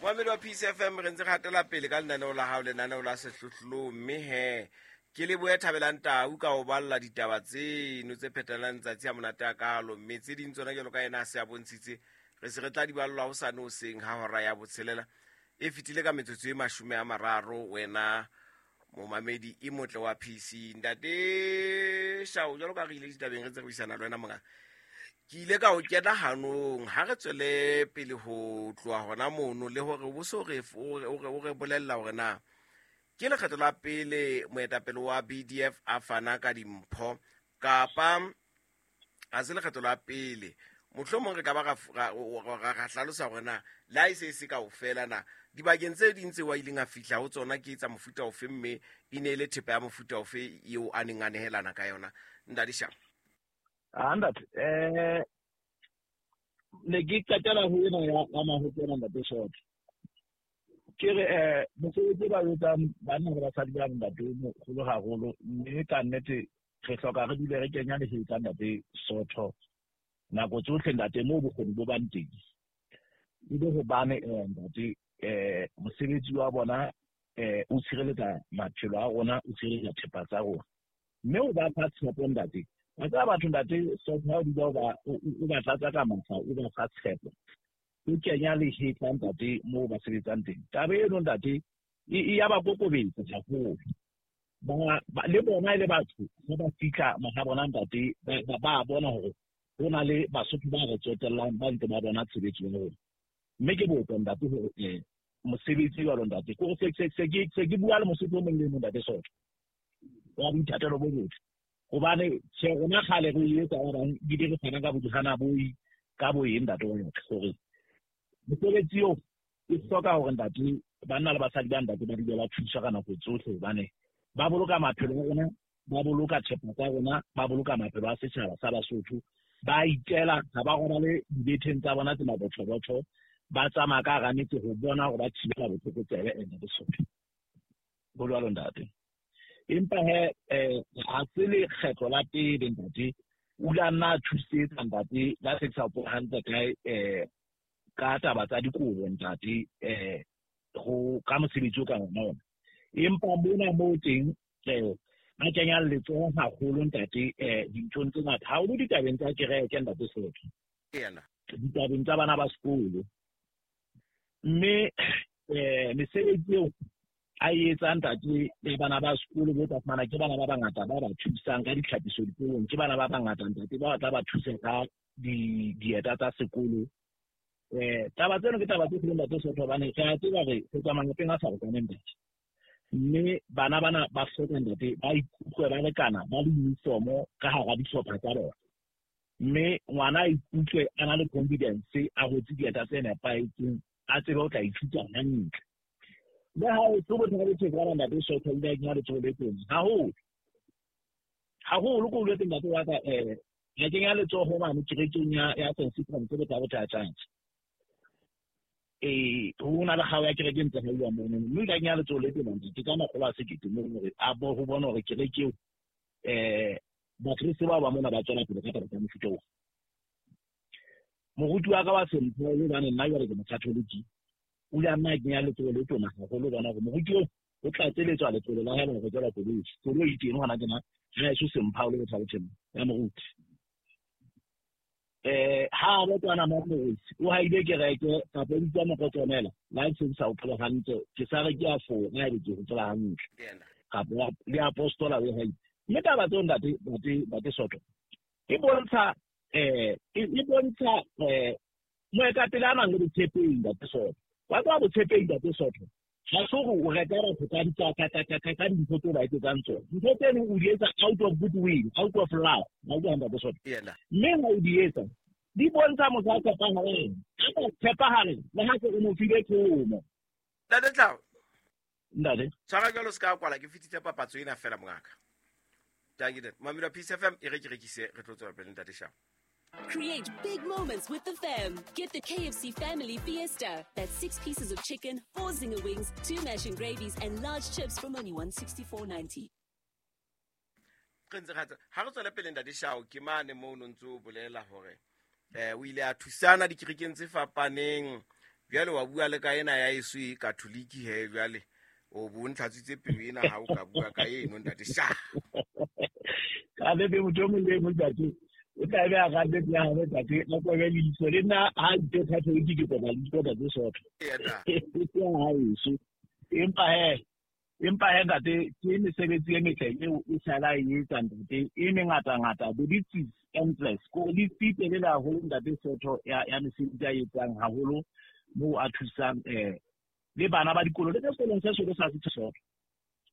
Momamedi wa Peace FM, re ntse re hatela pele ka lenaneo la hao, lenaneo la Sehlohlolong. Mme he ke lebohe Thabelang Tau ka ho balla ditaba tseno tse phetelang tsatsi a monate a kalo, mme tse ding tsona jalo ka ena a se a bontshitse, re se re tla di ballwa hosane hoseng ha hora ya botshelela e fetile ka metsotso e 30. Wena momamedi e motle wa PC, Ntate Shao, jalo ka re ile ditabeng re tse re buisana le wena monga, ke ile ka o kena hanong ha re tswele pele ho tloha hona mono, le hore o bo so re o re bolella hore na ke lekgetho la pele moetapele wa BDF a fana ka dimpho kapa ga se lekgetho la pele. Mohlomong re ka ba ra hlalosa gore na le ha e se e se kaofela, na dibakeng tse ding tse wa ileng a fihla ho tsona ke tsa mofuta ofe, mme e ne e le thepa ya mofuta ofe eo a neng a nehelana ka yona, Ntate Shao? Ah, ntate, ne ke qetela ho ena ya mahokela, Ntate Soto. Ke re mosebetsi ba etsang banna le basadi ba, ntate, o mogolo haholo, mme ka nnete re hloka re dule re kenya lehetla, Ntate Sotho, nako tsohle, ntate, moo bokgoni bo bang teng, e le hobane ntate, mosebetsi wa bona o tshireletsa maphelo a rona, o tshireletsa thepa tsa rona, mme o ba fa tshepo, ntate. Wa tseba batho, Ntate Sotho, ha o dula o ba tlatsa ka matla, o ba fa tshepo, o kenya lehetla, ntate, moo ba sebetsang teng, taba eno, ntate, e ya ba kokobetsa haholo. Le bona e le batho, ha ba fihla maha bona, ntate, ba bona hore ho na le Basotho ba re tsotellang, ba ntse ba bona tshebetso ya rona. Mme ke botsa, ntate, hore mosebetsi jwalo, ntate, kore se ke bua le Mosotho o mong le mong, Ntate Sotho, wa boithatelo bo botle, hobane tjhe, rona kgale re etsa ba bang ebile re fana ka bodihana boi ka bo eng, ntate wa ka, hore mosebetsi eo e hloka hore, ntate, banna le basadi ba, ntate, ba dule ba thuswa ka nako tsohle, hobane ba boloka maphelo a rona, ba boloka thepa tsa rona, ba boloka maphelo a setjhaba sa Basotho. Ba itela, ha ba robale dibetheng tsa bona tse mabothobotho, ba tsamaya ka hara metse ho bona hore ba thibela botlokotsebe. Ene Lesotho bo jwalo, ntate. Empa he ha se lekgetlo la pele, ntate, o ile a nna a thusetsa, ntate, la se ke sa hopola hantle kae, ka taba tsa dikobo, ntate, go ka mosebetsi o ka ona ona. Empa mona moo teng a kenya letsoho haholo, ntate, dinthong tse ngata haholo, ditabeng tsa kereke, Ntate Sotho, ditabeng tsa bana ba sekolo. Mme mesebetsi eo a e etsang, ntate, ya bana ba sekolo, bo tla fumana ke bana ba bangata ba ba thusang ka ditlhapiso dikolong, ke bana ba bangata, ntate, ba tla ba thusa ka dieta tsa sekolo. Taba tseno ke taba tse kgolo, Ntate Sotho, hobane re a tseba re tswa malapeng a farokaneng, ntate, mme bana bana ba hloka, ntate, ba ikutlwe ba lekana, ba le uniformo ka hara dihlopha tsa bona, mme ngwana a ikutlwe a na le confidence, a rwetse dieta tse nepahetseng, a tsebe o tla ithuta hantle. Le ha o tlo bothata bo tshwana, Ntate Sotho, o ile a kenya letsoho le teng haholo haholo. Ko boletse, ntate wa ka, a kenya letsoho mane kerekeng ya St Cyprian tse botsa bothatjantse. Ho na le kgao ya kereke ntse hauwa mono, mme o ile a kenya letsoho le teng, ntate, ka 100 000 mono, hore a bo ho bona hore kereke eo, Bakreste bao ba mona ba tswela pele ka taba tsa mofuta oo. Moruti wa ka wa Sempho, hobane nna jwale ke Mokatholiki, o ile a nna a kenya letsoho le tona haholo, bona hore moruti oo o tlatseletswa letlole la hae la ho rekelwa koloi. Koloi teng hona tjena ha eso Sempha o le botha botjheng ya moruti. Ha a botwana mo moruti o haile kereke kapa o bitsa mokotsonela la se sa hopola hantle, ke sa re ke a fora ebe ke hopola hantle, kapa le apostola o haile. Mme taba tseo, ntate Soto, e bontsha moetapele a nang le botshepehi, Ntate Soto. Wa tseba botshepehi, Ntate Soto, ha se hore o reka batho ka dintho tseo ba etsetsang tsona. Ntho tseno o di etsa out of goodwill, out of love, ha utlwa, Ntate Soto? Mme ha o di etsa, di bontsha motho a tshepahalang, a sa tshepahale le ha se o mo file thomo. Ntate Tlao. Ntate. Tshwara jalo, se ka kwala, ke fetitse papatso ena fela, mongaka. Tanki mamelo Peace FM, e re ke rekise, re tlo tswela pele, Ntate Shao. Create big moments with the fam. Get the KFC Family Fiesta. That's 6 pieces of chicken, 4 zinger wings, 2 mash and gravies, and large chips from only 164.90. Re ntse ha re tswele pele, Ntate Shao. Ke mane moo no ntse o bolela hore o ile a thusana dikerekeng tse fapaneng. Jwale wa bua le ka ena ya eso e katholiki he, jwale o bo ntlhatswitse pelo ena ha o ka bua ka eno, ntate sha. Ka nnete motho o mong le e mong, ntate, o tla be a rate ya hae, ntate, a kobe leihlo. Le nna ha itse Catholic ke koba leihlo, ntate Soto. Ya haeso. Empa he ntate, ke mesebetsi e metle eo e sala e etsa, ntate, e mengata-ngata. The list is endless. Ko list e telele haholo, ntate Soto, ya mesebetsi a etsang haholo moo a thusang le bana ba dikolo le ka sekolong se solo sa Setho Soto.